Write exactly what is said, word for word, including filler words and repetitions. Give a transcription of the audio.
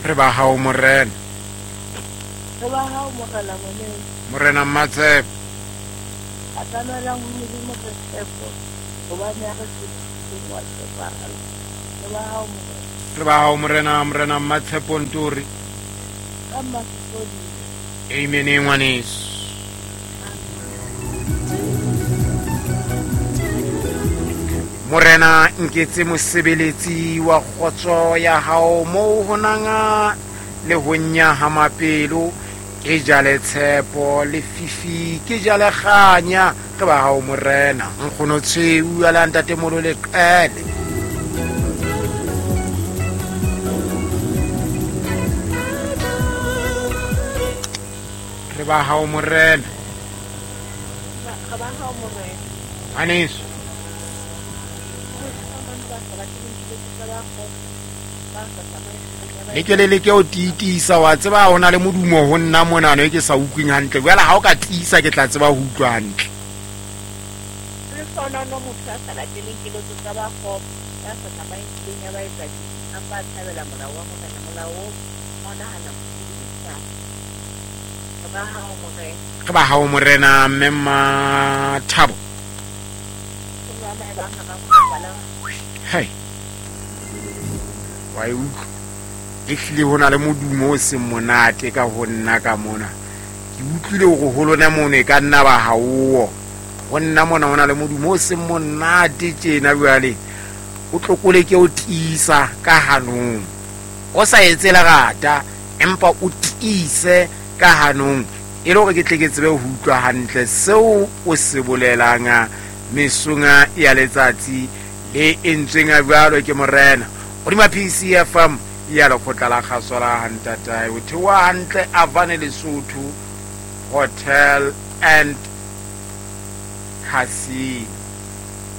Re ba hao morena. Re ba hao morena ngwaneso. Morena Mmatshepo. Atamelang ho Modimo re tshepo, hobane ha re tshepisitseng wa tshepahala. Re ba hao morena. Re ba hao morena, morena Mmatshepo Ntori. Ka Mmasepodi. Amen ngwaneso. Morena nketse mosebeletsi wa kgotso ya hao moo ho nanga le ho nyahama pelo, ke jale tshepo le fifi, ke jale kganya. Re ba hao morena. Nkgono Tshweu a la ntatemolo le qele. Re ba hao morena. Re ba hao morena. Ngwaneso. Le ke le leke ho tiisa, wa tseba ho na le modumo ho nna monano e ke sa utlweng hantle. Jwale ha o ka tiisa ke tla tseba ho utlwa hantle. Le sonono motho a sa lateleng keletso tsa ba kgopo, ya sa tsamayeng tseleng ya baetsadibe, empa a thabela molao wa Morena, molao oo o nahana bosiu le motshehare. Re ba hao morena. Re ba hao morena, mme Mmathabo. Hei. Wa e utlwa? Ehlile ho na le modumo o seng monate ka ho nna ka mona. Ke utlwile hore ho lona mono e ka nna ba haowo. Ho nna mona ho na le modumo o seng monate tjena jwale. O tlokole ke o tiisa ka hanong. O sa etse lerata, empa o tiise ka hanong. E le hore ke tle ke tsebe ho utlwa hantle seo o se bolelang mesong ya letsatsi le entsweng jwalo ke morena. Hodima P C F M ya lekgotla la kgaso la Hantatae, o theoha hantle Avane Lesotho Hotel and Casino.